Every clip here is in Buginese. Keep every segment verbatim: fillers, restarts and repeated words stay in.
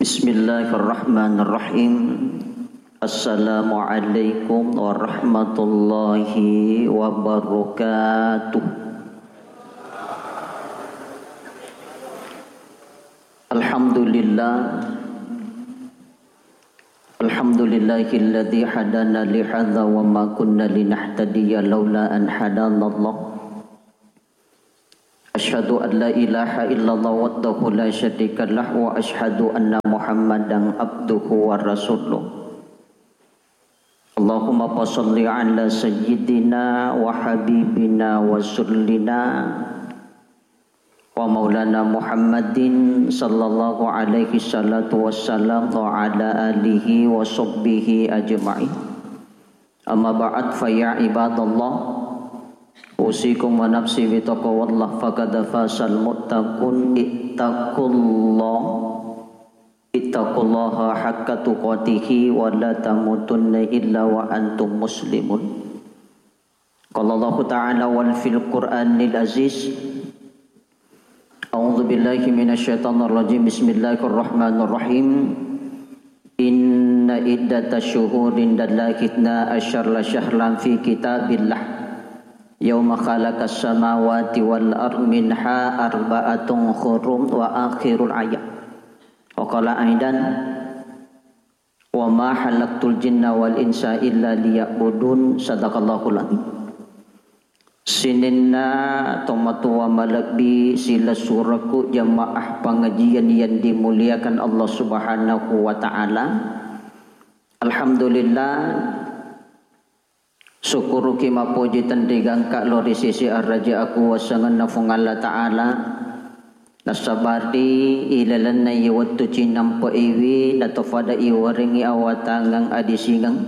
Bismillahirrahmanirrahim. Assalamualaikum warahmatullahi wabarakatuh. Alhamdulillah. Alhamdulillahilladzi hadana lihadza wa ma kunna linahtadiya laula an hadanallah. Asyhadu an la ilaha illallah wahdahu la syarikalah wa asyhadu anna Muhammadan abduhu wa rasuluh. Allahumma fasalli ala sayyidina wa habibina wa rasulina wa maulana Muhammadin sallallahu alaihi salatu wassalam wa ala alihi wa sahbihi ajma'in. Amma ba'd, fa ya ibadallah, usikum wa nafsi bi taqwallah, faqad fazal muttaqun. Ittaqullah, ittaqullaha haqqa tuqatihi wa la tamutunna illa wa antum muslimun. Qala Allahu ta'ala wal fil Qur'anil Aziz. A'udzu billahi minasy syaithanir rajim. Bismillahirrahmanirrahim. Inna iddatasy syuhuri indallahi itsna asyara syahran fi kitabillah. Yauma khalaqas samawati wal ard minha arba'atun hurum wa akhirul ayat. Wa qala aidan. Wa ma khalaqtul jinna wal insa illa liya'budun. Sadaqallahul adzim. Sininna tomatoa malebbi silessurekku jamaah pengajian yang dimuliakan Allah Subhanahu wa Ta'ala. Alhamdulillah, sukkuruki mappoji tenri gangka lao ri sisi araja akuwasangenna Fuang Allah Ta'ala. Nasaba ri ilalenna iye wettu cinampe'iwi, natofada iwarengngi awatangeng adisingeng,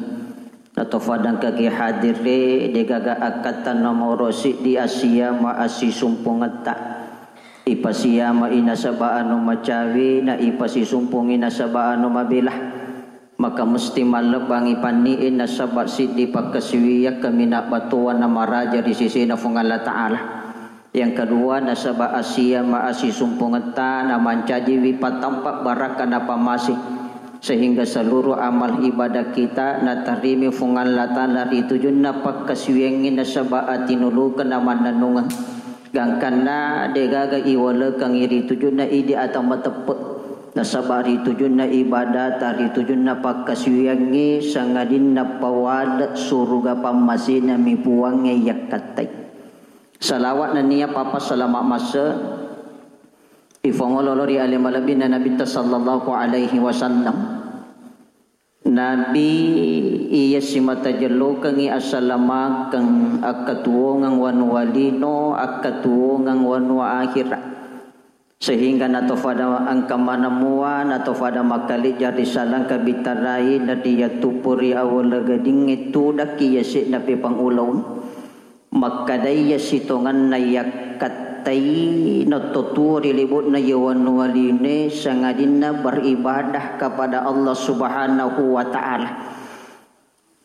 natofada engkaki hadirre, degaga akkatta nomoro siddi assiama assisumpungetta. Ipasiamai nasaba anu macawe, na ipasisumpungi nasaba anu mabela. Maka musti mallebbangi panni'e nasaba siddi pakkasiwiang kaminang battowanna maraja ri sesena Fuang Allah Ta'ala. Yang kedua, nasaba assiama assisumpungetta namancajiwi patampa barakka napammase, sehingga seluruh amal ibadah kita natarimi Fuang Allah Ta'ala ri tujunna pakkasiwiangngi nasaba atinulukeng namannennungeng. Gangkanna degaga iwalekengngi ri tujunna idi ata mateppe, nasaba ri tujunna ibadata, ri tujunna pakkasiwiangngi sangadinna pawale suruga pammasena mi Puangnge yakkattai. Salawat nennia papa salama masse ifongololo ri ale malebbina Nabitta sallallahu alaihi wasallam. Nabi iya simata jellokengngi asalamakeng, akkatuwongeng wanua lino, akkatuwongeng wanua akhira. Sehingga natofada engka maneng mua, natofada makkalejja ri salangka bitarai, nariyattuppo ri awala gadingnge tudakki yase'na pepang ulaung. Makkedai iya sitongenna yakkattai nattotuo ri lebo'na iya wanua linoe sangadinna beribadah kepada Allah Subhanahu wa Ta'ala.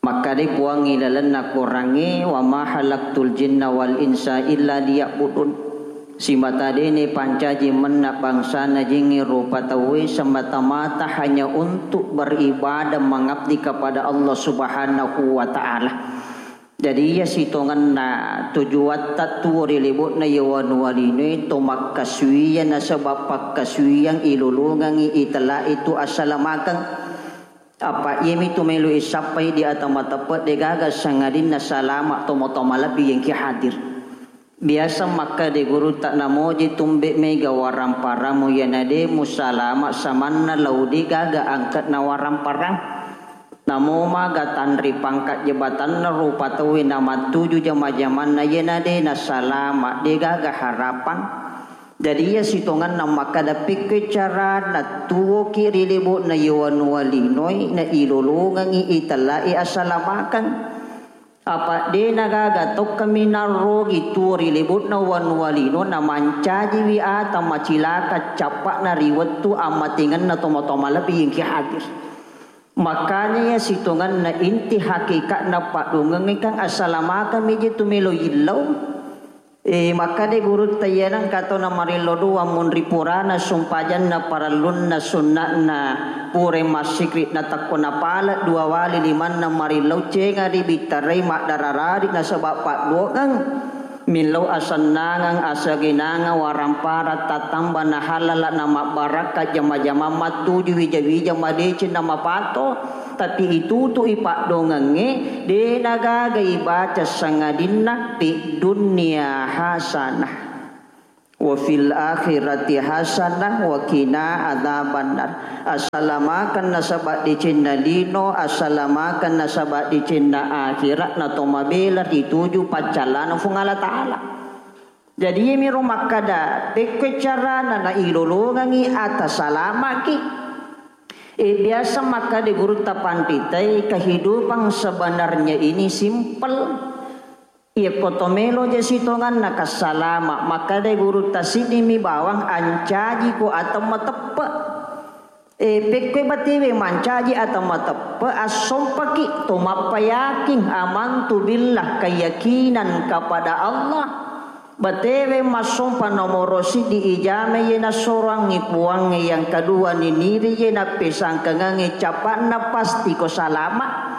Makkedai Puangnge ilalenna Korangnge, "Wa ma khalaqtul jinna wal insa illa liya'budun." Simata dene pancaji menna bangsana jingnge rupa tauwe semata-mata hanya untuk beribadah mengabdi kepada Allah Subhanahu wa Ta'ala. Jadi iya sitongenna tujuatta tuo ri lebo'na iya wanua linoe to makkasuwiyang nasaba pakkasuwiyang ilolongengngi itellai tu assalamakeng. Apa iyami tu melo isappai di ata mateppe degaga sangadinna salama tomatoa malebbi yengki hadir. Biasa makkeda gurutta, namoji tumbe mega waramparamu iyana de musalama samanna lao degaga angke'na waramparamu. Namo maga tanri pangkat jabatanna rupa tauwe namattuju jama-jamanna, iyana de nasalama, degaga harapang. Jadi iya sitongenna makkeda, pekkoi carana tuwoki ri lebo'na iya wanua linoe na ilolongengngi itellai assalamakeng. Apa de nagaga tokka minarrogi tuo ri lebo'na wanua lino namancajiwi ata macilaka cappa'na ri wettu ammatengenna tomatoa malebbi yengki hadir. Makanya iya sitongenna inti hakikatna paddungengngekang assalamakeng miji tu melo yillau. E, makkeda gurutta, iyanengka tau namarillo doang munri purana sumpajanna parellunna sunna'na, pura massikri natakko napale dua wali limanna marillo, cenga ribittarai maddararari nasaba padduongeng. Millau asennangeng, asagenangeng, waramparang, tattamba nahalala namabbarakka jama-jamang mattuju wija-wija madeceng namapato, tapi itutui paddongengnge, de nagaga ibaca sangadinna fi dunya hasanah wa fil akhirati hasanah wa qina adzabannar. Asalamakeng nasaba decenna lino, asalamakeng nasaba decenna akhirat, natomabela rituju paccallana Fuang Allah Ta'ala. Jadi, iyamiro makkada, pekkoi carana nailolongengngi ata salamaki. E, biasa makkada gurutta panritae, kehidupan sebenarnya ini simpel. Iyakko to melo je sitonganna kassalama, makkada gurutta siddimi bawang ancaji ko ata mateppe. E, pekkoi batewe mancaji ata mateppe, assompaki to mappayaking, amantu billah, keyakinan kepada Allah. Batewe massompa nomoro siddi ijama iye nassorangngi Puangnge, yang kedua niniri iye nappesangkangengnge capa'na pasti ko salama.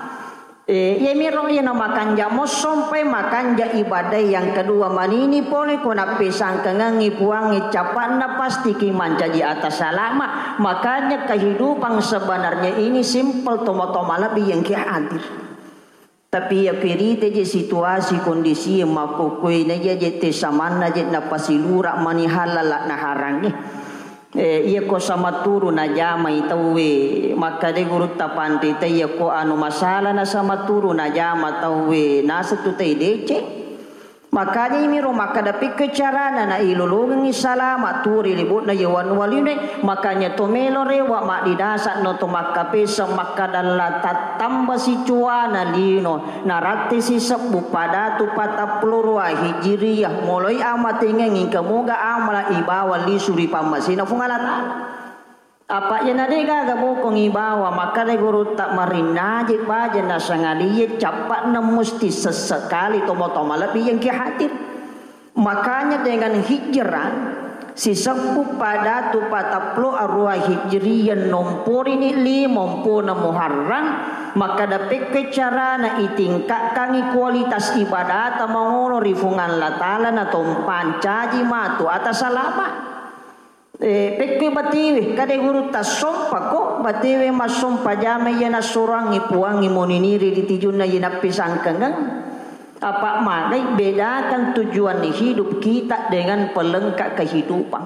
E, iyamiro iyana makanja mossompai makanja ibadae, yang kedua manini pole ko nappesangkangengngi Puangnge capa'na pastiki mancaji ata salama. Makanya kehidupan sebenarnya ini simpel, tomo-tomo lebih yang ki hadir. Tapi iya pirite je situasi kondisi makkukkue na iya je te samanna je napasilura mani halala naharangnge. E, iya ko sama turu najamai tauwe, makkada gurutta panrita, iya ko anu masalah na sama turu najama tauwe, naseng tu tai deceng. Makanya imiro makkada pikko carana na ilolongengngi salama tu ri libu'na iya wanua linoe. Makanya to melo rewa maddidasa no to makkapesa makkada la tattamba sicuana lino. Narattesi sebbu padatu patappulo rua Hijriyah, moloi amatengengngi engka moga amala ibawa lisu ri pammasena Fuang Allah Ta'ala. Apa iyana de gaga bokong ibawa, makkada gurutta marinnaje baja nasangalie cappa'na musti sessekali tomo-tomo lebbi yang ki hadir. Makanya dengan hijrah sisebbu padatu patappulo arua Hijriyah, nomporini lima mpona Muharram, makkada pekke carana itingkatkangi kualitas ibadata mangono ri Fuang Allah Ta'ala na tompa ncaji matu ata salama. E, pekke batewe, kade gurutta sompako batewe massompa jama iya nassorangngi Puangnge moniniri ri tijunna iya nappesangkangeng. Apa magai bedakan tujuan hidup kita dengan pelengkap kehidupan.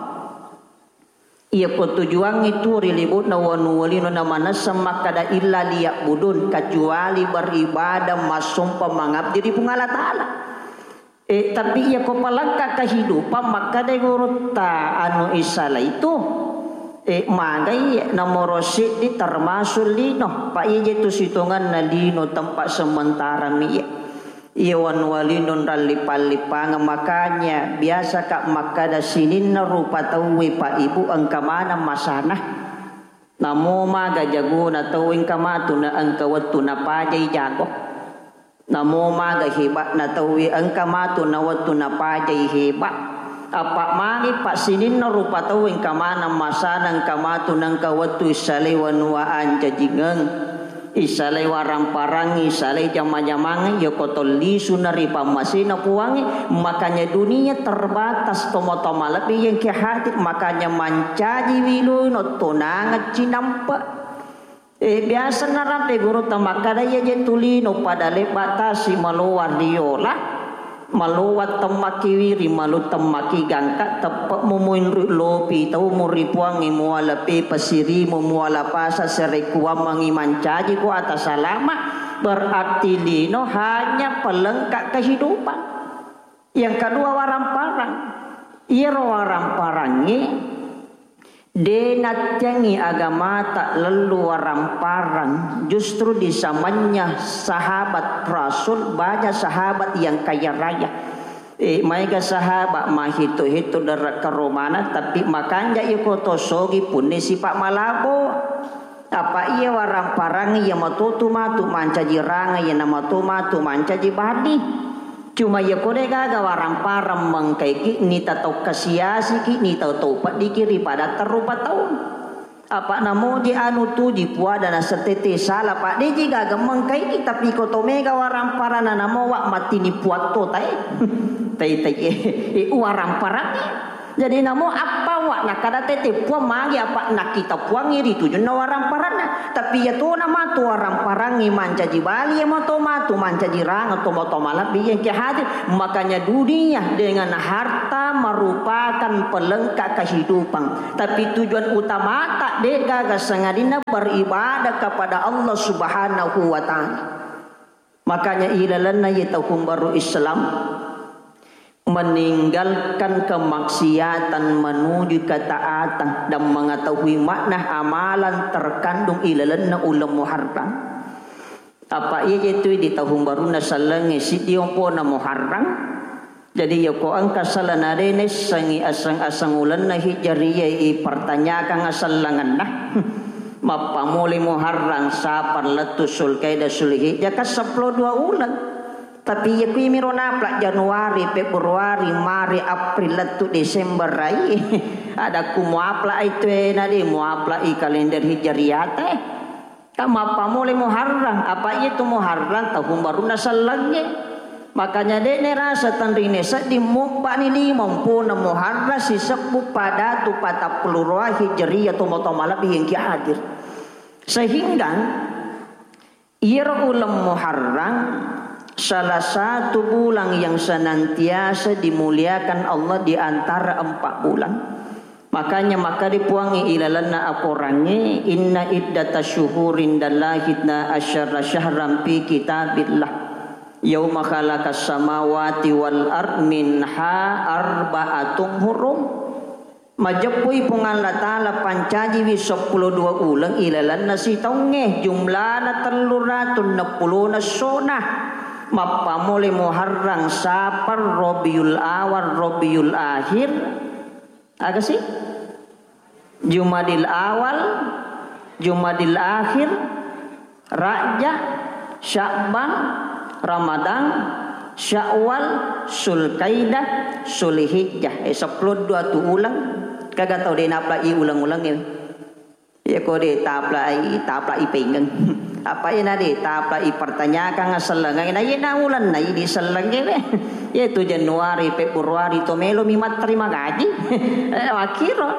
Iyako tujuangnge tuo ri libu'na wanua lino na manesseng makkada illa liya'budun, kecuali beribadah massompa mangabdi ri Puang Allah Ta'ala. E, tapi iyako palengka kehidupan makkada gurutta anu isalai tu, e, magai nomoro siddi termasuk lino, pa ije tu sitonganna lino tempat sementara mi iya. Iya wanua lino nrallippang-lippangeng, makanya biasaka makkada sininna rupa tauwe, Pak Ibu, engka maneng masana. Namo maga jagona tauwe engka matu na engka wettu napajai jago. Namo maga heba'na tauwe engka matu na wettu napajai heba. Apa magi, Pak, sininna rupa tauwe engka maneng masana, engka matu na engka wettu issalai wanua ancajingeng. Isalai warang-parangngi, isalai jama-jamangngi, iyako to lisuna ri pammasena Puangnge. Makanya dunia terbatas, tomo-tomo lebbi yang ki hadir, makanya mancaji wiloi no tonangeng cinampe. E, biasa narampe gurutta makkada iya je tu lino pada lebba tasi maloa riola. Maloa temmaki wiri, malu temmaki gangka, teppe'mu muinru lopi taumu ri Puangnge, muala pepa sirimu, muala pasa serekuammengngi mancaji ko ata salama, berarti lino hanya pelengkap kehidupan. Yang kedua, warang-parang. Iyaro warang-parangnge De nattiangngi agamata lellu warang-parang, justru disamanya sahabat Rasul, banyak sahabat yang kaya raya. Eh, maega sahabat mahitu-hitu dere karomana, tapi makanja iko to sogi punni sipa malabo. Apa iya warang-parang iya matotu matu mancaji ranga, iya namato matu mancaji badi. Cuma iya ko de' gaga waramparang mengkaiki, nita tau kasiasiki, nita tau peddiki ri padatta rupa taung. Apa' namoji anu tuji puada nasetete sala, Pak, de'ji gaga mengkaiki, tapi ko to mega waramparana namowa mattini puatto tae. Tai, tai, eh, eh, waramparang. Jadi namo appa wa' nakkada tette Puang magi apa' nakkita Puangngi ri tujunna waramparanna. Tapi iya tona matu waramparangngi mancaji bali, iya mato matu mancaji rangeng to mato malebbi yang ke hadir. Makanya dunia dengan harta merupakan pelengkap kehidupan. Tapi tujuan utamata de' gaga sangadinna beribadah kepada Allah Subhanahu wa Ta'ala. Makanya ilalenna ye tahun baru Islam, meninggalkan kemaksiatan menuju ketaatan dan mengetahui makna amalan terkandung ilalenna uleng Muharram. Apa iya je tu di tahun barunna sellengnge siddi ompona Muharram. Jadi yako engka sala nade nessangi aseng-aseng ulenna Hijriyah i pertanyakan asellengenna. Mappamole Muharram, Safar, lettu Sulkaidah, Sulhijjah, kan seppulo dua uleng. Tapi iya kuwi miro napla Januari, Februari, Maret, April, lettu Desember rai. Ada ku muapla ai tuena de muapla i kalender Hijriyah te. Kan mappamole Muharram, apa iya tu Muharram tahun barunna sellengnge. Makanya de' nerasa tenrine sedding mubbani lima ompona Muharram sisebbu padatu patappulo roa Hijriyah to mato malebbi yang ki hadir. Sehingga iyaro uleng Muharram salah satu bulan yang senantiasa dimuliakan Allah di antara empat bulan. Makanya makkeda Puangnge ilalenna akorangnge, "Inna iddata syuhuri indallahi itna asyara syahran fi kitabillah. Yauma khalaqas samawati wal ard minha arba'atun hurum." Majeppui Puang Allah Ta'ala pancajiwi seppulo dua uleng ilalenna sitaungnge, jumlana tellu ratu enneppulona essona. Mappamole Muharram, Safar, Rabiul Awal, Rabiul Akhir, aga sih? Jumadil Awal, Jumadil Akhir, Rajab, Sya'ban, Ramadan, Syawal, Sulkaidah, Sulhijjah. Eh, seppulo dua tu uleng. Kaga tau de' napla i uleng-uleng e. Iya ko de' tapla i, tapla i pengeng. Apa ina de' tapla i pertanyakan asellengnge. Na ina uleng na i di sellengnge we. Iya tu Januari, Februari to melo mi matterima gaji. Eh, makkiro.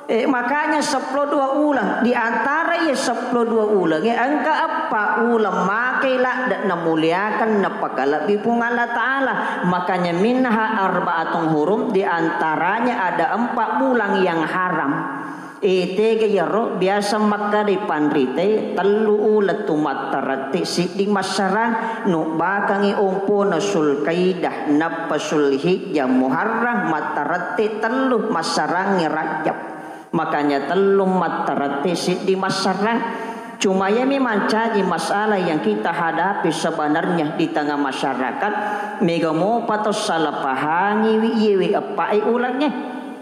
Eh, makanya seppulo dua uleng, di antara iya seppulo dua uleng, eh, engka eppa uleng makai ladde' namuliakan, napakalebbi Puang Allah Ta'ala. Makanya minha arba'atun hurum, di antaranya ada empat bulan yang haram. Eh, tega iyaro biasa makkadai panrite tellu uleng tu mattarette siddi massarang, nubbakangi ompona Sulkaidah, nappa Sulhijjah, Muharram, mattarette tellu massarangngi Rajab. Makanya tellu mattarette siddi massarang. Cuma iyami mancaji masalah yang kita hadapi sebenarnya di tengah masyarakat, mega mopa to salah pahangiwi iyewe eppae ulengnge.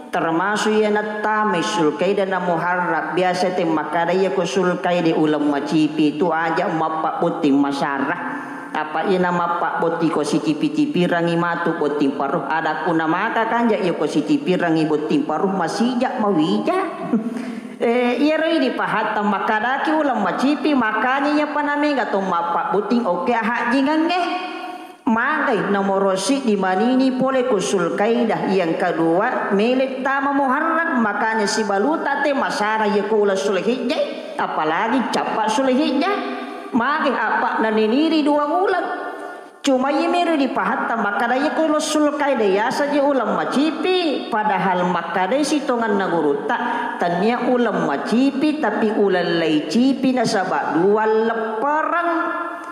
Termasuk iya nattamai Sulkaidah na Muharram, biasa te makkada iya ko Sulkaidah uleng macipi tu aja mappabotting masara. Apa iyana mappabotting ko sicipi-cipirangngi matu botting paruh. Ada kuna maka kanja iya ko sicipirangngi botting paruh masija mawija. Eh, iyaro idi pahatta makkadaki uleng macipi, makanya iya panamega to mappabotting oke hajjingangnge. Magai nomoro siddi manini pole ku Sulkaidah, yang kedua mele tama Muharram, makanya sibaluta te masara iya ku uleng Sulhijjah, apalagi cappa Sulhijjah. Magai apa naniniri dua uleng. Cuma iya meri dipahatta makkada iya ku uleng Sulkaidah yasa je uleng macipi, padahal makkadai sitonganna gurutta, tania uleng macipi tapi uleng laicipi nasaba dua leppereng.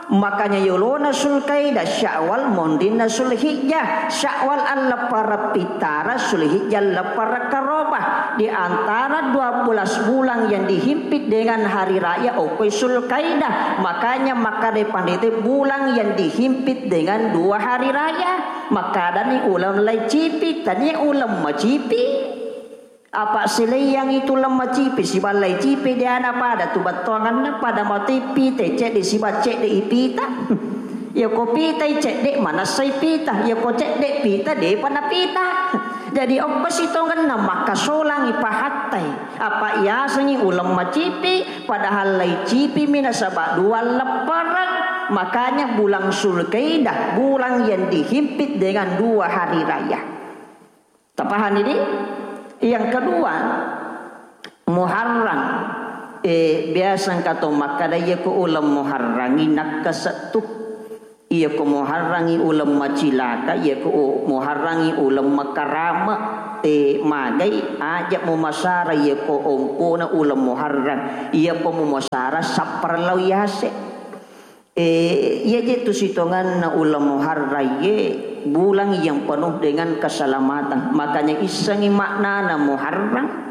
Makanya yolona Sulkaidah Syawal, monrinna Sulhijjah. Syawal alleppereng pittara, Sulhijjah alleppereng karoba. Di antara dua belas bulan yang dihimpit dengan hari raya, okoi Sulkaidah. Makanya makkadai pandita bulan yang dihimpit dengan dua hari raya. Makkadani uleng laicipi, tania uleng macipi. Apa sileiyangngi tu uleng macipi, siballai cipi de ana pada tu battuanganna, pada mati pite cedde siba cedde ipita. Iyako pitai cedde, manessai pita. Iyako cedde pita, depa napita. Jadi okko sitongenna makkasolangi pahattai. Apa yasengi uleng macipi, padahal laicipimi nasaba dua leppereng. Makanya bulan Zulkaidah, bulan yang dihimpit dengan dua hari raya. Tapahani di? Yang kedua, Muharram. Eh, biasa engka to makkada, iyako uleng Muharrangi nakkasa tu. Iyako Muharrangi uleng macilaka, iyako u-, Muharrangi uleng makarama. Eh, magai, aja mumasara iyako ompona uleng Muharram. Iyako mumasara sapparellau yase. Eh, iya je tu sitonganna uleng Muharram ye, bulan yang penuh dengan keselamatan. Makanya issengi maknana Muharram.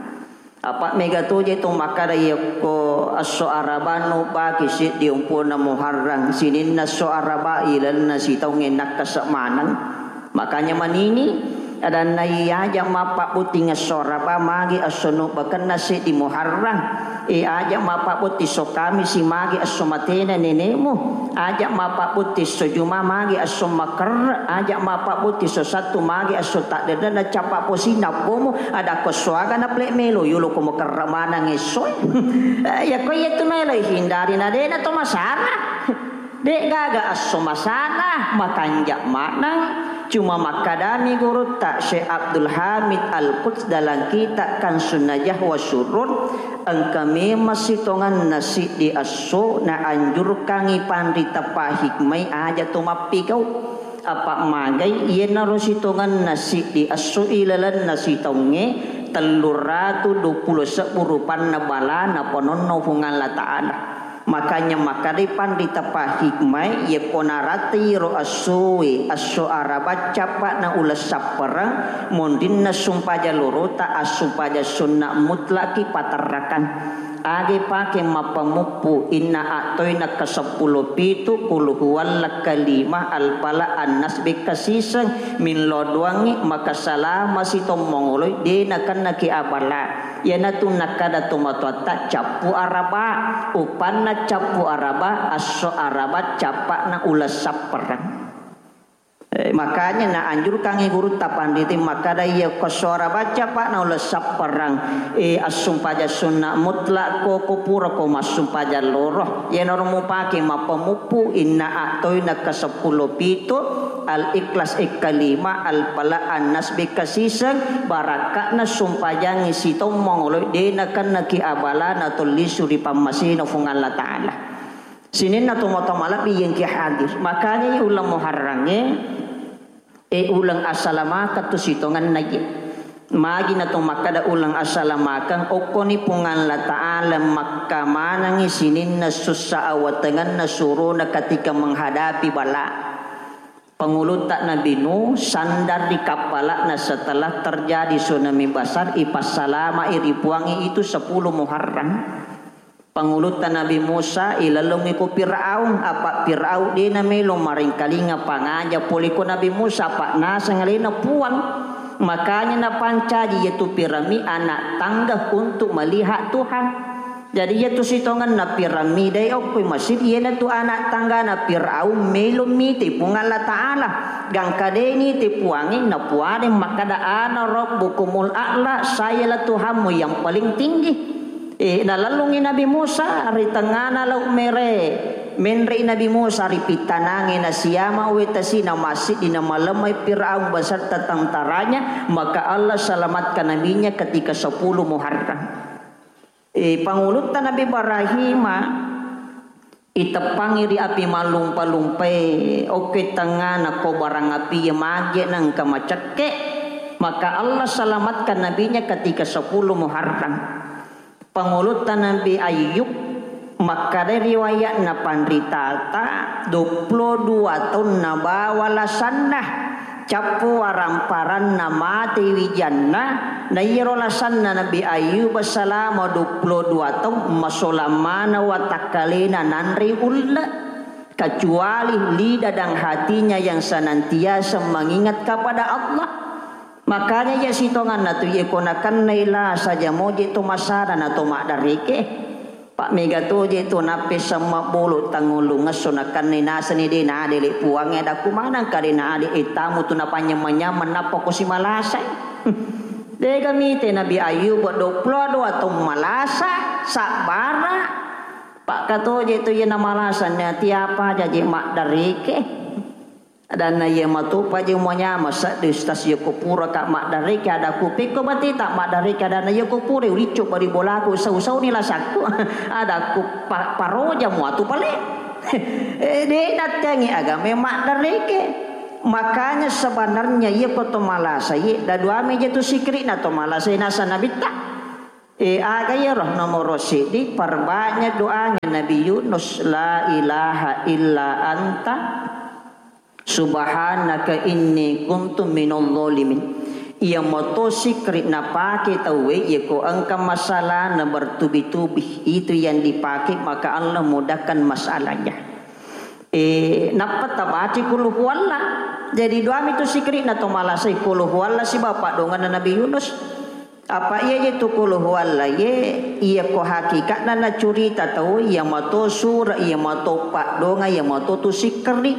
Apa mega to je tu makkada, yakko esso Araba nu baki siddi ompona Muharram, sininna esso Araba ilenna sitaungnge nakkasa maneng. Makanya manini, adanna, iya aja mappabbuting esso Araba, magi esso nubbakenna seddi Muharram. Eh, aja mappabbuting esso Kamisi, magi esso matena nenemu. Aja mappabbuting esso Juma, magi esso makerre. Aja mappabbuting esso Sattu, magi esso taddenna cappa posina bomu. Ada ko suaga na plek melo, yolo ko makerre manang esso. Eh, ya ko iya tu melo hindari, na dena to masara. De'gaga esso masalah, makanja maneng. Cuma makkadami gurutta Syekh Abdul Hamid Al-Quds dalam kitab Kansun Najah wa Surur, engka memang sitonganna siddi esso naanjurkangi panrita pahikmai aja to mappigau. Apa magai iyanaro sitonganna siddi esso ilalenna sitaungnge, telluratu duappulo sebbu rupanna bala napanonno Puang Allah Ta'ala. Makanya makkadai panrita pahikmai, iyako naratai ro essoe, esso Araba cappa'na uleng sappereng, monrinna sumpajang lorota, assumpajang sunna mutlaki paterrakan. Age pake mappamuppu, inna a'toina kaseppulo pitu, qul huwallah kalima, al-falaq, an-nas, bekkasiseng, millau doangngi, maka salama sitommongoloi, de nakennaki abala. Iyanatu nakkada tomatoatta cappu Araba, uppanna cappu Araba, esso Araba cappa'na uleng sappereng. Eh, makanya naanjurkangngi gurutta panrita makkada, iya ko esso Araba cappa'na uleng sappereng, eh, assumpajang sunna mutlak ko, ko pura ko massumpajang loro, iyanaro mupake mappamuppu, inna a'toina kaseppulo pitu, Al-Ikhlas ekkalima, Al-Falaq, An-Nas bekkasiseng, barakka'na sumpajangngi sitommongoloi, de nakennaki abala natollisu ri pammasena Puang Allah Ta'ala. Sininna tomatoa malebbi yengki hadir. Makanya uleng Muharrangnge, eh, uleng asalamakeng tu sitongenna ye. Magi nato makkada uleng asalamakeng, okkoni Puang Allah Ta'ala makkamanengngi sininna sussa awatengenna surona ketika menghadapi bala. Pangulutta Nabi Nuh sandar ri kappala'na setelah terjadi tsunami besar, ipassalama'i ri Puangnge itu sepuluh Muharram. Pangulutta Nabi Musa ilalungngi ku Fir'aun, apa Fir'aun de namelo marengkalinga pangaja pole ko Nabi Musa, apa naseng alena Puang. Makanya napancaji yetu pirammi anak tangga untuk melihat Tuhan. Jadi, iyatu sitongenna pirammi dai okko masjid, iyanatu anak tanggana Firaun melo mite Puang Allah Ta'ala. Gangka de nite Puangnge, napuadeng makkada, "Ana rabbukumul a'la, sayalah Tuhanmu yang paling tinggi." Eh, nalellungi Nabi Musa ri tengngana Laut Mere. Menre'i Nabi Musa ri pittanangnge, nasiama wetasi, namassiddi, namalemmai Firaun beserta tentaranya, maka Allah selamatkan nabinya ketika sepuluh Muharram. Eh, pangulutta Nabi Ibrahima iteppangi ri api mallumpa-lumpai, okke tengngana ko barang api ye mage nengka macekke, maka Allah selamatkan nabinya ketika sepuluh Muharram. Pangulutta Nabi Ayub, makkada riwayatna panritata, duappulo dua taunna bawa lasanna. Cappu waramparanna mate wijanna, na iyaro lasanna Nabi Ayyub salama duappulo dua taung, masolang maneng watakkalena nanrei ulle, kecuali lidah dan hatinya yang senantiasa mengingat kepada Allah. Makanya iya sitonganna tu, iya ko nakennai lasa jamoje to masara na to maddareke. Pak mega toje tu nappe semma bolo tangulung ngesso nakanne nasani de nadele puangnge adakku manang kade na ade etamu tu napanyameng-nyameng nappa ko simalasai. Dega mite Nabi Ayub dua puluh dua taung malasa, sabbara. Pak katoje tu iya namalasa nati apa jaji maddareke. Adanna iya matopa je manyama seddi ustaz, iya ko pura ka maddareke adakku, pekko bateta maddareke adanna iya ko pura uliccu bari bolaku sau-sau ni lasakku. Adakku pa-, paroja muatu pale. Eh, de nattengi agama maddareke. Makanya sebenarnya iya ko to malasa ye da duami je tu sikri na to malasa nasa nabitta. Eh, aga iyaro nomoro siddi, perbanyak doanya Nabi Yunus, la ilaha illa anta subhanaka inni kuntu minal zalimin. Iya moto sikri napake tauwe, iya ko engka masalah na bertubi-tubi, itu yang dipakai, maka Allah mudahkan masalahnya. Eh, nappa tabaci kul huwalla. Jadi duami tu sikri na to malasai kul huwalla sibawa padonganna Nabi Yunus. Apa iya je tu kul huwalla ye, iya ko hakikatna nacurita tau, iya mato sura, iya mato paddonga, iya mato tu sikri.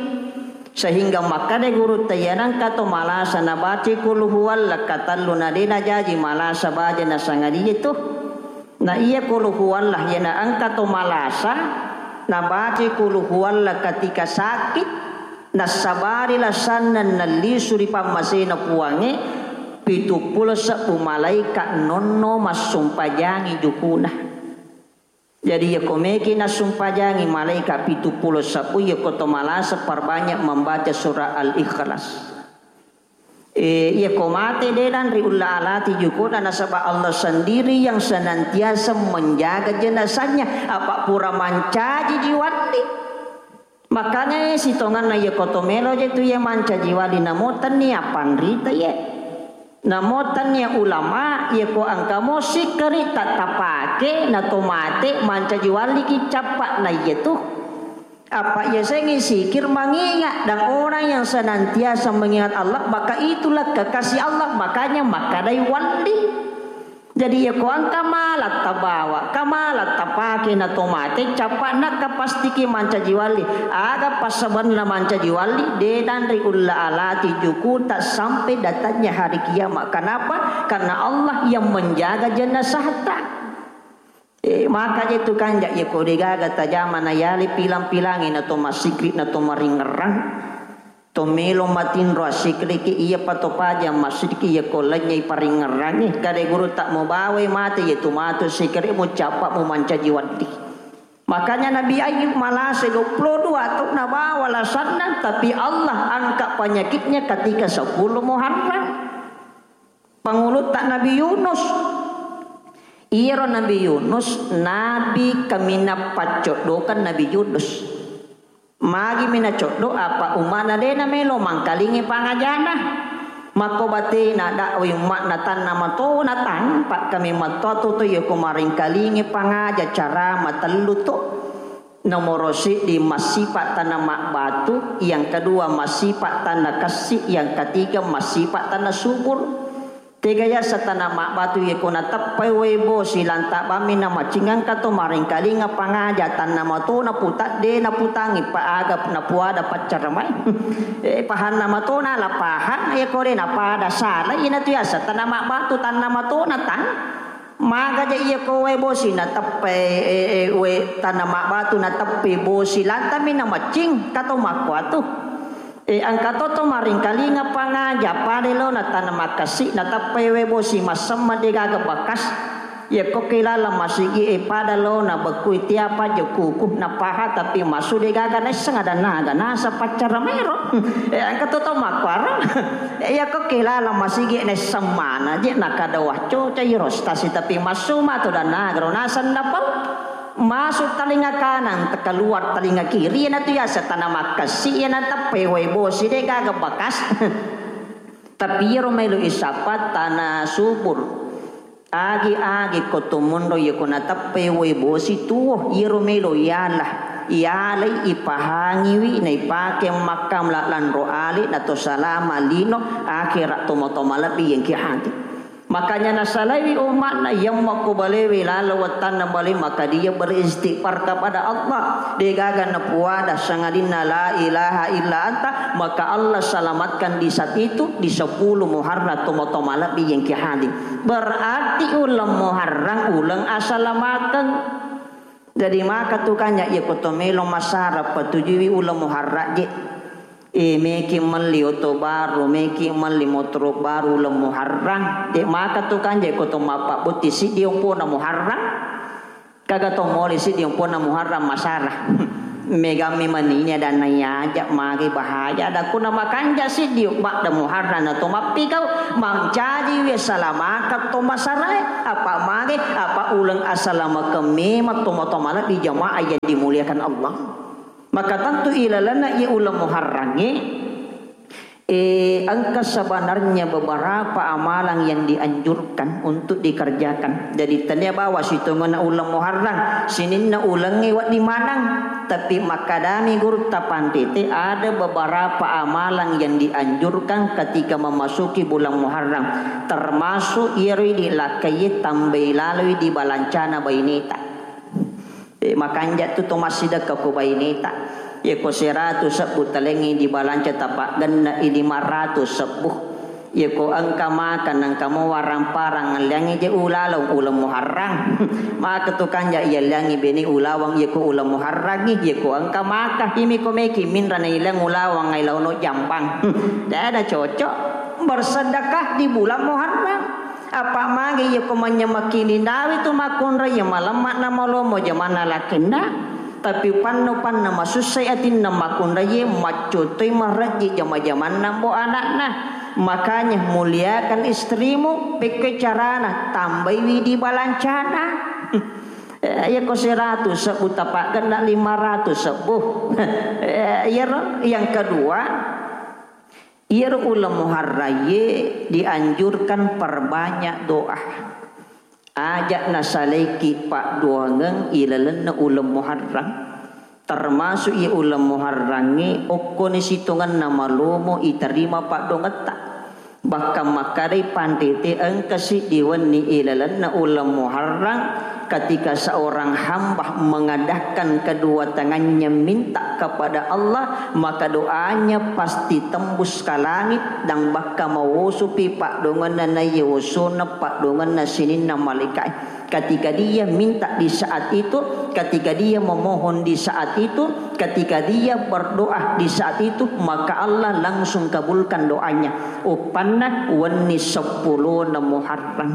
Sehingga makkada guru tayya nangka to malasa nabaca kul huwalla katellu na de najaji malasa baja na sangadie tu. Na iya kul huwalla iya na engka to malasa nabaca kul huwalla ketika sakit, nassabari lasanna nallisu ri pammasena puangnge, pitu pulo sebbu malaika nonno massumpajangi jukuna. Jadi, iya ko meki nassumpajangi malaika pitu pulo sebbu, iya ko to malasa perbanyak membaca surah Al-Ikhlas. Eh, iya ko mate de nanri ulla alati jukuna, nasaba Allah sendiri yang senantiasa menjaga jenazahnya. Apa pura mancaji jiwandi. Makanya, eh, sitonganna iya ko to melo je tu iya mancaji wali, namo tennia panrita ye. Namo tennia ulama, iya ko engka mo sikkeri ta-, tapake na to mate mancaji wali ki cappa na iya tu. Apa iya sengi sikir mengingat, dan orang yang senantiasa mengingat Allah, maka itulah kekasih Allah, makanya makkadai wali. Jadi, iya ko engka mala tabawa, ka mala tapake na to mate, cappa nakka pastiki mancaji wali. Aga passabanna mancaji wali, de nanri ulla alati jukuta sampai datangnya hari kiamat. Kenapa? Karena Allah yang menjaga jenazahta. Eh, maka je tu kanja, iya ko de gaga tajama na yali pilang-pilangi na to masikri na to maringerang. To melo matinro assikriki, iya pato paja massikriki, iya ko lennyai paringngerangngi. Kade guru tak mubawai mate, iya tu matu sikri mucappa mumancaji waddi. Makanya Nabi Ayub malase dua puluh dua tahun nabawa lasanna, tapi Allah angkat penyakitnya ketika sepuluh Muharram. Pangulutta Nabi Yunus. Iyaro Nabi Yunus, Nabi kaminang paccoddokan Nabi Yunus. Magimi nacoddo, apa umma'na de namelo mangkalingi pangajana. Makko batena dakwai umma'na tanna matona tang, pakkami mattoa toto yako maringkalingi pangaja cara matellu to. Nomoro siddi massipa tanna mabbatu, yang kedua massipa tanna kessi, yang ketiga massipa tanna subur. Tega yaseng tanna mabbatu, yako nateppai wae bosi, lanta bammi namacingngka to maringkalinga pangaja, tanna matona puta de naputangi pa aga napuada paccara mai. Eh, pahanna matona la pahang, yako de napada sala, inatu yaseng tanna mabbatu, tanna matona tang. Magaja iya ko wae bosi nateppai, eh, eh, wae tanna mabbatu nateppai bosi, lantami namaccing, kato makkuatu. Eh, engka to to maringkalinga pangaja, pada lo na tanna makkasi, nateppai wae bosi, massemma de gaga bakas. Iya ko ke laleng masigi, eh, pada lo na bekkui tiapa je kuku, napaha tapi masu de gaga naisseng ada naga, nasa paccara maero. Eh, engka to to makkuaro. Eh, iya ko ke laleng masigi naisseng mana je, nakada wacco, cai rostasi tapi masu matu dan nagaro, naseng napau. Masuk talinga kanan, keluar talinga kiri, iyanatu yaseng tanna makkasi, iya nateppai wae bosi, de gaga bakas. Tapi iyaro melo isappa tanna subur. Agi-agi ko to monro, iya ko nateppai wae bosi tuo, iyaro melo iala, ialai, ipahangiwi, naipake makka mala lanro ale, nato salama lino, akhirat tomo-tomo lebbi yengki hati. Makanya nasalaiwi umma'na, yang makko balewe laleng wettanna bale, maka dia beristighfar kepada Allah. Degaga napuada sangadinna la ilaha illa anta, maka Allah selamatkan di saat itu, di sepuluh Muharram, tomo-tomo malebbi yang ki hadir. Berarti uleng Muharram uleng asalamakeng. Jadi maka tu kanja, iya ko to melo masara patujuiwi uleng Muharram je. Eh, meki melli oto baru, meki melli motoro baru uleng Muharram. De maka tu kanja ko to mappabbutti siddi ompona Muharram. Kaga to mole siddi ompona Muharram masara. Megammi manini adanna yaja magi bahaya. Ada kuna makanja siddi badda Muharram na to mappikau mancaji wi salamaka to masarae. Apa mage, apa uleng asalamakeng memang to matomala di jamaah yang dimuliakan Allah. Maka tentu ilalenna iya uleng Muharrangnge, eh, engka sebenarnya beberapa amalan yang dianjurkan untuk dikerjakan. Jadi tania bawa sitongenna uleng Muharram, sininna ulengnge wedding maneng. Tapi makkadami gurutta pantete, ada beberapa amalan yang dianjurkan ketika memasuki bulan Muharram, termasuk iyaro idi lakkaie tambai laloi di balancana baineta. Eh, makanja tu to massidekka ko baineta. Yako seratu sebbu talengngi di balanca tapaggenna i lima ratu sebbu. Yako engka maka nengka mo warang-parang ngelliangi je ulaleng uleng Muharram. Maka tu kanja yalliangi bene ulawang yako uleng Muharrangngi, yako engka maka imi ko meki minra na ileng ulawang ai launo jambang. Tidak ada cocok bersedekah di bulan Muharram. Apa magi yako manyamaki ni nawi tu makunrai ya malemma na malomo jamanna lakenna. Tapi panno-panna masussai atinna makunraie, maccotoi marejji jama-jamanna mbo anakna. Makanya muliakan istrimu, pekke carana tambaiwi di balancana. Eh, iya ko seratu sebbu tapaggenna lima ratu sebbu. Eh, iyaro yang kedua, iyaro uleng Muharraie dianjurkan perbanyak doa. Aja nasalaiki paddoangeng ilalenna uleng Muharram. Termasuk iya uleng Muharrangnge okkoni sitongenna malomo iterima paddoangetta. Bahkan makkedai pantete engka siddi wenni ilalenna uleng Muharram, ketika seorang hamba mengadakan kedua tangannya minta kepada Allah, maka doanya pasti tembus ke langit dan bahkan mawosupi paddoangenna naiya wosona paddoangenna sininna malaikae. Ketika dia minta di saat itu, ketika dia memohon di saat itu, ketika dia berdoa di saat itu, maka Allah langsung kabulkan doanya. Uppanna wenni seppulona Muharram.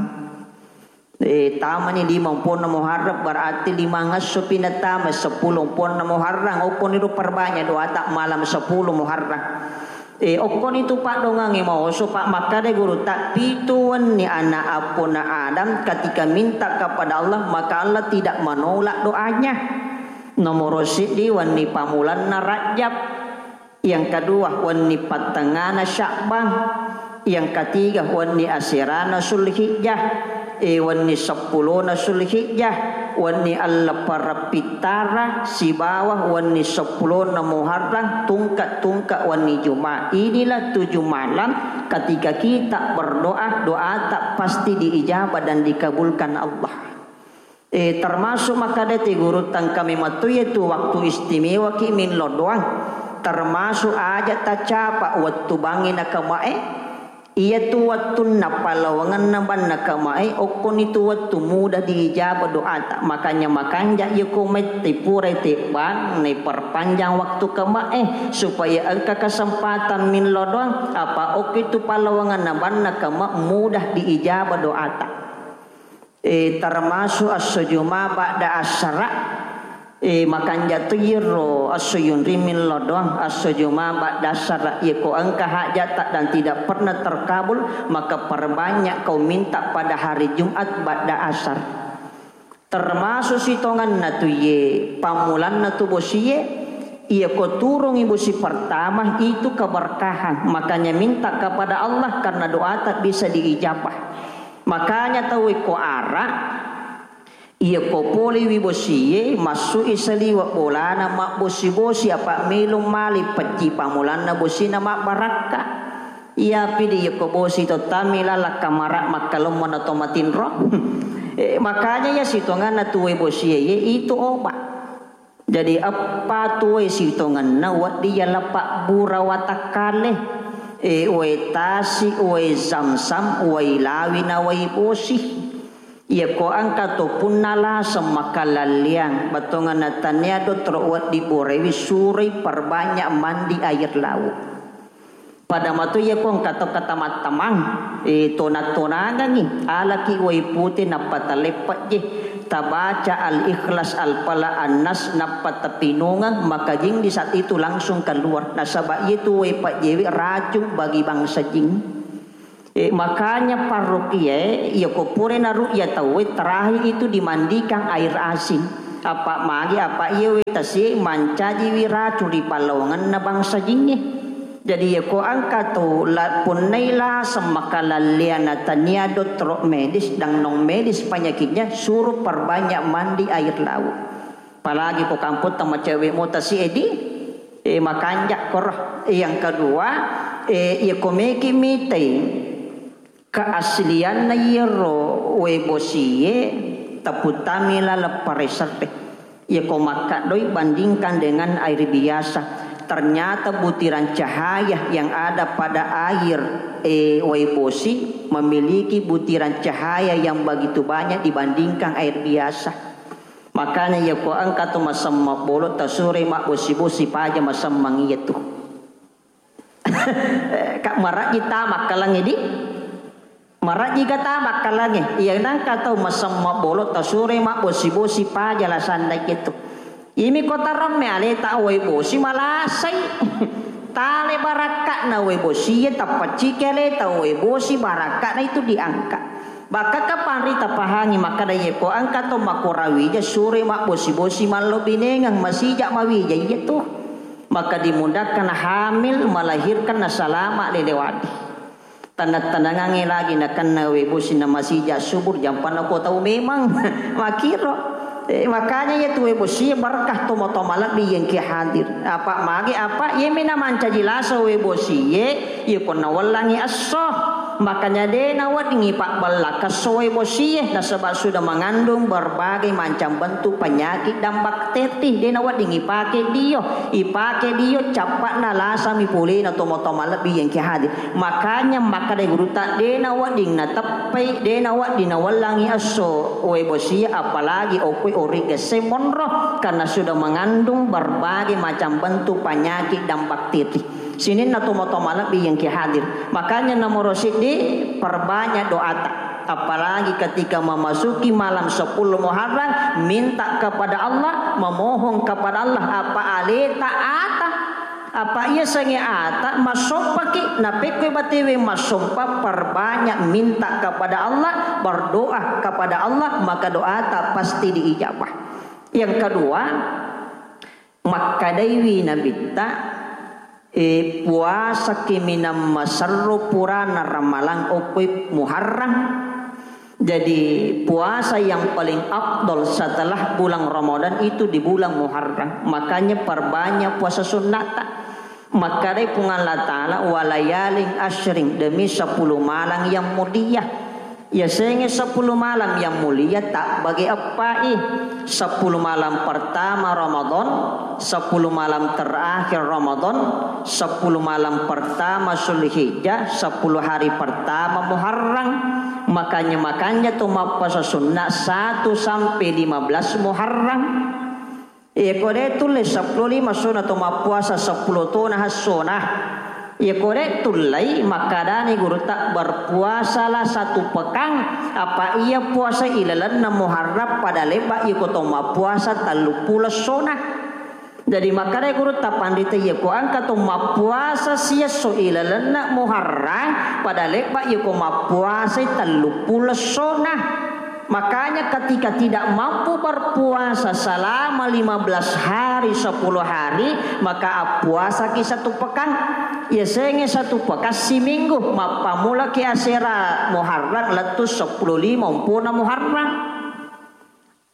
Eh, tamani lima omponna Muharram, berarti lima ngesso pinatama seppulo omponna Muharram. Okkoni ro perbanyak doata malam sepuluh Muharram. Eh, okkoni tu paddoangengnge maoso, Pak, makkada gurutta, pitu wenni anak appona Adam ketika minta kepada Allah, maka Allah tidak menolak doanya. Nomoro siddi wenni pamulanna Rajab, yang kedua wenni pattengngana Sya'ban, yang ketiga wenni aserana Sulhijjah, eh, wenni seppulona Sulhijjah, wenni Alleppereng Pittara, sibawa wenni seppulona Muharram, tungka-tungka wenni Juma. Inilah tujuh malam ketika kita berdoa, doata pasti diijabah dan dikabulkan Allah. Eh, termasuk makkadai gurutta engka memettu iyatu waktu istimewaki millau doang. Termasuk aja tacapa wettu bangngi nakamae. Iyatu wettunna palawangenna banna kamae, okkoni tu wettu mudah diijabah doata. Makanya makanja iyako mette purai tebbang, naiperpanjang waktu kamae supaya engka kesempatan millau doang. Apa okki tu palawangenna banna kama mudah diijabah doata. Eh, termasuk esso Juma ba'da asara. Eh, makanja tu iyaro esso yunri millau doang, esso Juma ba'da asara. Iyako engka hajata dan tidak pernah terkabul, maka perbanyak kau minta pada hari Jumat ba'da asar. Termasuk sitongenna tu iye pammulanna tu bosie, iyako turungi bosi pertama itu keberkahan. Makanya minta kepada Allah karena doata bisa diijabah. Makanya tau ko ara, iyako polewi bosie, massu'i saliweng bolana mabbosi-bosi, apa melo mali pecci pamulanna bosina mabbarakka. Iyapi di yekko bosi to tammi lalakka mara makkalommo na to matinro. Eh, makanya ya sitonganna tuwe bosie ye itu obat. Jadi eppa tuwe sitonganna wedding yala pabbura watakkale. Eh, wae tasi, wae zamzam, wae lawi na wae bosi. Iyako engka to punna laseng makalalliang, bettuanna tania dottoro wedding borewi suroi perbanyak mandi air laut. Pada matu iyako engka to katamang-tamang, eh, tona-tonangengi, alaki wai pute nappa taleppejje, tabaca Al-Ikhlas, Al-Falaq, An-Nas, nappa tapinungeng, maka jing di saat itu langsung keluar. Nasaba iyatu wai pejjewe racun bagi bangsa jing. Eh, makanya parrokiae, iyako pura naru'ya tauwe, terakhir itu dimandikan air asin. Apa magi, apa iya wae tasie mancajiwi racun ri pallawangenna bangsa jingnge. Jadi iyako engka to la-, punnai laseng makalalliang na tania dottoro medis dan non medis penyakitnya, suruh perbanyak mandi air laut. Apalagi ko kamputta macewe mota si edi, eh, makanja koro. Yang kedua, eh, iyako meki mitai keaslianna iyaro wae bosie, taputtami laleng pareserre. Iyako makkaddoi bandingkan dengan air biasa, ternyata butiran cahaya yang ada pada air, eh, wae bosi memiliki butiran cahaya yang begitu banyak dibandingkan air biasa. Makanya iyako engka to masemmeng bolo, tasuroi mabbosi-bosi paja masemmeng iyatu. Kak, marajji ta makkalangnge di? Marajji ga ta makkalangnge? Iya, nangka tau masemmeng bolo, tasuroi mabbosi-bosi paja lasanna iyatu. Imi ko taramme aleta wae bosi malasai. Tale barakka'na wae bosie, tapacciki aleta wae bosi, barakka'na itu diangkat. Bahkan kapang ri tapahangi makkada, iyako engka to makorawija suroi mabbosi-bosi mallo binengeng, masija mawija iyatu. Maka dimudahkan hamil, melahirkan, na salama lelewadi. Tanang-tanangangnge lagi nakenna wae bosi na masija subur, jampanna ko tau memang. Makiro. Eh, makanya iyatu wae bosie berkah, tomo-tomo malebbi iyengki hadir. Apa magi, apa iyemi na mancaji lasa wae bosie, iyako nawellangi esso. Makanya de naweddingi pabbellakka esso wae bosie, nasaba sudah mengandung berbagai macam bentuk penyakit dan bakteri, de naweddingi pake dio. Ipake dio, cappa'na lasami polena tomo-tomo malebbi iyengki hadir. Makanya makkadai gurutta, de nawedding nateppai, de nawedding nawellangi esso wae bosie, apalagi okkoi origesse monro, karena sudah mengandung berbagai macam bentuk penyakit dan bakteri. Sininna tomo-tomo malebbi iyengki hadir. Makanya nomoro siddi, perbanyak doata. Apalagi ketika memasuki malam sepuluh Muharram, minta kepada Allah, memohon kepada Allah, apa aleta ata, apa iya sengnge ata, massompaki, napekkoi batewe massompa, perbanyak minta kepada Allah, berdoa kepada Allah, maka doata pasti diijabah. Yang kedua, Makkadaiwi Nabitta, e, puasaki minang maserro purana Ramalang okkoi Muharram. Jadi, puasa yang paling afdol setelah bulan Ramadan itu di bulan Muharram. Makanya perbanyak puasa sunnata. Makkadai Puang Allah Ta'ala, "Walayalin asyrin," demi sepuluh malam yang mulia. Yasengnge sepuluh malam yang mulia tabbagi eppai. Sepuluh malam pertama Ramadan, sepuluh malam terakhir Ramadan, sepuluh malam pertama Zulhijjah, sepuluh hari pertama Muharram. Makanya-makanya tu mappuasa sunnah satu sampai lima belas Muharram. Iyako de tulle seppulo lima essona to mappuasa seppulo tona essona. Iyako de tullei, makkadani gurutta, "Berpuasalah satu pekan," apa iya puasa ilalenna Muharram pada lebba iyako to mappuasa telluppulo essona. Jadi makkadai gurutta panrita, iyako engka to mappuasa siesso ilalenna Muharram pada lebba iyako mappuasai telluppulo essona. Makanya ketika tidak mampu berpuasa selama lima belas hari, sepuluh hari, maka appuasaki satu pekan. Yasengnge satu pekan siminggu, mappamulaki asera Muharram lettu seppulo lima umpona Muharram.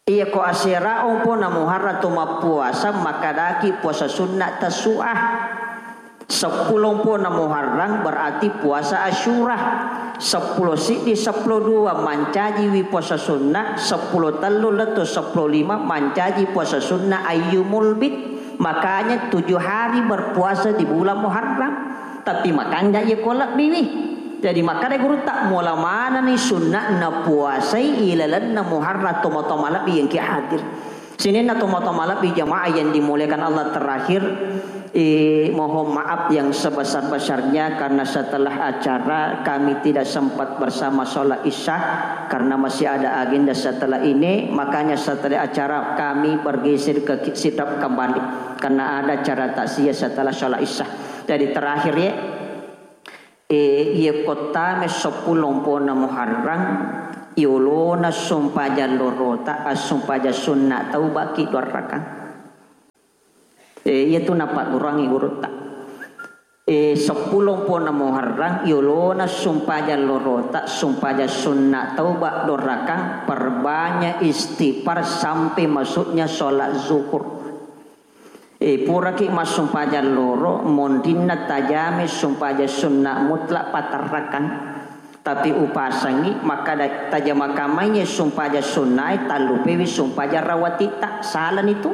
Iyako asera umpona Muharram tu mappuasa, makkadaki puasa sunnah Tasu'ah. Seppulo mpona Muharram berarti puasa Asyura. Seppulo siddi, seppulo dua mancajiwi puasa sunnah, seppulo tellu lettu seppulo lima mancaji puasa sunnah ayyumul bid. Makanya tujuh hari berpuasa di bulan Muharram. Tapi makanja iya ko lebbiwi. Jadi makkeda gurutta, mula manani sunnahna puasai ilalenna Muharram, tomatoa malebbi yang ki hadir. Sininna tomatoa malebbi jamaah yang dimuliakan Allah, terakhir, eh, mohon maaf yang sebesar-besarnya karena setelah acara kami tidak sempat bersama sholat isya karena masih ada agenda setelah ini, makanya setelah acara kami bergeser ke Sidrap kembali karena ada acara takziah setelah sholat isya. Jadi terakhir ya, E, iya kottame seppulo mpona Muharram, yolona sumpajang lorota, assumpajang sunna taubaki dua rakang. E, iya tu napaddurangi gurutta. E, seppulo mpona Muharram, yolona sumpajang lorota, sumpajang sunna tauba dua rakang, perbanyak istighfar sampai masuknya sholat zuhur. E, puraki massumpajang loro, monrinna tajame sumpajang sunna mutlak patarrakang. Tapi upasangi, makkada tajama kamaiye sumpajang sunnae, tallupewi sumpajang rawatitta. Salani tu.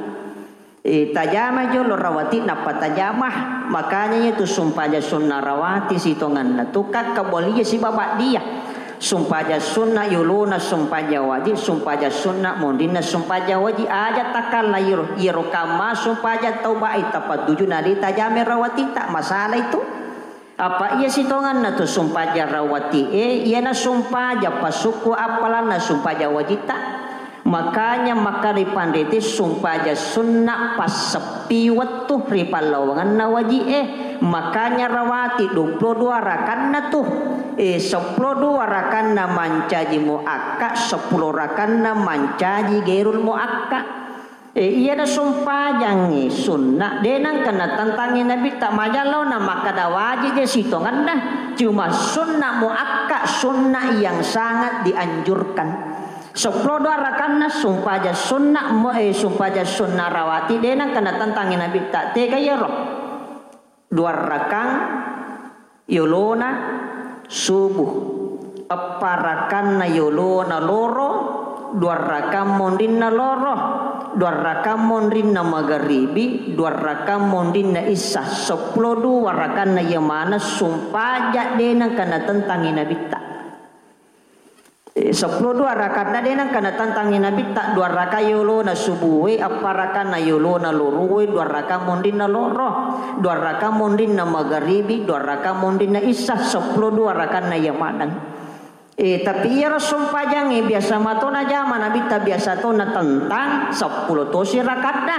E, tajama jolo rawati, nappa tajama. Makanya itu sumpajang sunna rawati sitonganna tu kakkabolia sibawa dia. Sumpajang sunna yolona sumpajang wajib, sumpajang sunna monrinna sumpajang wajib. Aja takalla iyaro, iyaro kamma sumpajang taubai tapatuju nadi tajame rawatita, masalah itu. Apa iya sitonganna tu sumpajang rawati e, iyana sumpajang pasukku appalanna sumpajang wajita. Makanya makkeda panriti sumpajang sunna passeppi wettu ri pallawangenna waji'e. Makanya rawati dua puluh dua rakanna tu. E, seppulo dua rakanna mancaji muakka, seppulo rakanna mancaji gairul muakka. E, iyana sumpajangngi sunna, de nangka natentangi Nabitta majallo na makkeda wajib je sitongenna. Cuma sunna muakka, sunna yang sangat dianjurkan. Seppulo dua rakanna sumpajang sunna mo, eh, sumpajang sunna rawati de nengka natentangi Nabitta. Tega iyaro? Dua rakang yolona subuh, eppa rakanna yolona loro, dua rakang monrinna loro, dua rakang monrinna magaribi, dua rakang monrinna isya, seppulo dua rakanna iya maneng sumpajang de nengka natentangi Nabitta. Eh, seppulo dua rakanna de nengka natentangi Nabitta, dua raka yolona subuwe, eppa rakanna yolona lorowe, dua raka monrinna loro, dua raka monrinna magaribi, dua raka monrinna isya, seppulo dua rakanna iya maneng. Eh, tapi iyaro sumpajangnge biasa mato najama Nabitta, biasa to natentang, seppulo tosi rakanna.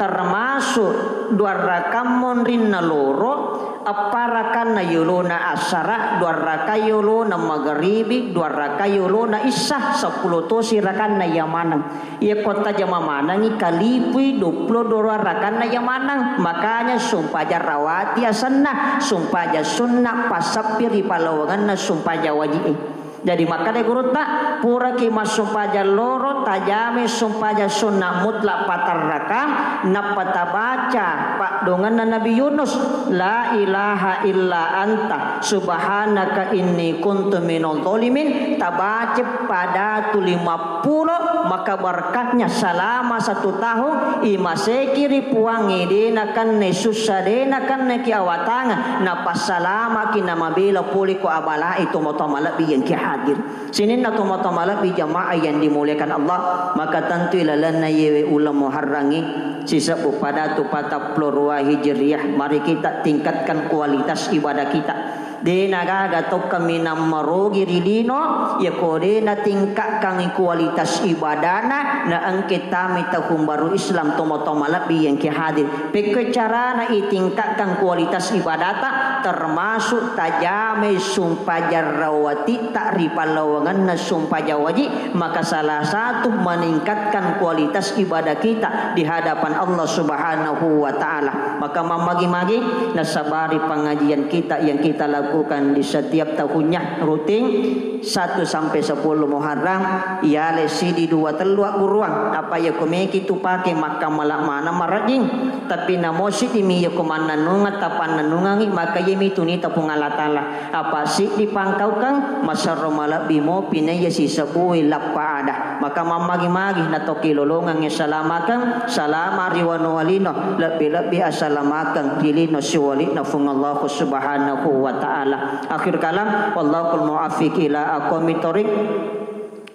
Termasuk dua rakang monrinna loro, eppa rakanna yolona asara, dua raka yolona magaribi, dua raka yolona isya, seppulo tosi rakanna iya maneng. Iya kotta jama manengi kalipui dua puluh dua rakanna iya maneng. Makanya sumpajang rawati asenna, sumpajang sunna passeppi ri pallawangenna sumpajang waji'e. Jadi makkeda gurutta, puraki massumpajang loro, tajamai sumpajang sunna mutlak patarrakang, nappa tabaca paddoangenna Nabi Yunus, "La ilaha illa anta, subhanaka inni kuntu minal zalimin." Tabaca padatu lima puluh, maka berkahnya selama satu tahun, imaseki ri Puangnge, de nakenna sussa, de nakenna ki awatangeng, napassalamaki namabela pole ko abalae tomatoa malebbi yang ki hadir. Sininna tomatoa malebbi jamaah yang dimuliakan Allah, maka tentu ilalenna yewe uleng Muharrangnge sisebbu padatu patappulo rua Hijriah, mari kita tingkatkan kualitas ibadah kita. De nagaga to kaminang marogi ri lino, yako de natingkatkan kualitas ibadana, na engke tami tahun baru Islam tomatoa malebbi yang ki hadir. Pekko carana itingkatkan kualitas ibadata, termasuk tajamai sumpajang rawatitta ri pallawangenna sumpajang wajib, maka salah satu meningkatkan kualitas ibadah kita di hadapan Allah Subhanahu wa Ta'ala. Maka mammagi-magi nasabari pengajian kita yang kita lakukan di setiap tahunnya rutin. Satu sampai sepuluh Muharram, iyalai siddi dua tellu agguruang. Apa iya ko meki tu pake makkamala maneng marajing, tapi namo siddi mi iya ko mannennungeng tapannennungengi, maka iya mi tunita Puang Allah Taala. Apa siddi pangkaukeng, maserro malebbi mopi naiya sisebbui lappa ada. Maka mammagi-magi na tokki lolongengnge salamakeng, salama ri wanua lino, lebbi-lebbi asalamakeng ri lino siwali'na Fuang Allahu Subhanahu wa Ta'ala. Akhir kalam, wallahul muwaffiq ila aqwamit thoriq.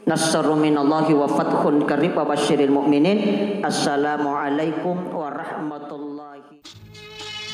Nasrun minallahi wa fathun qarib wa basyiril mu'minin. Assalamualaikum warahmatullahi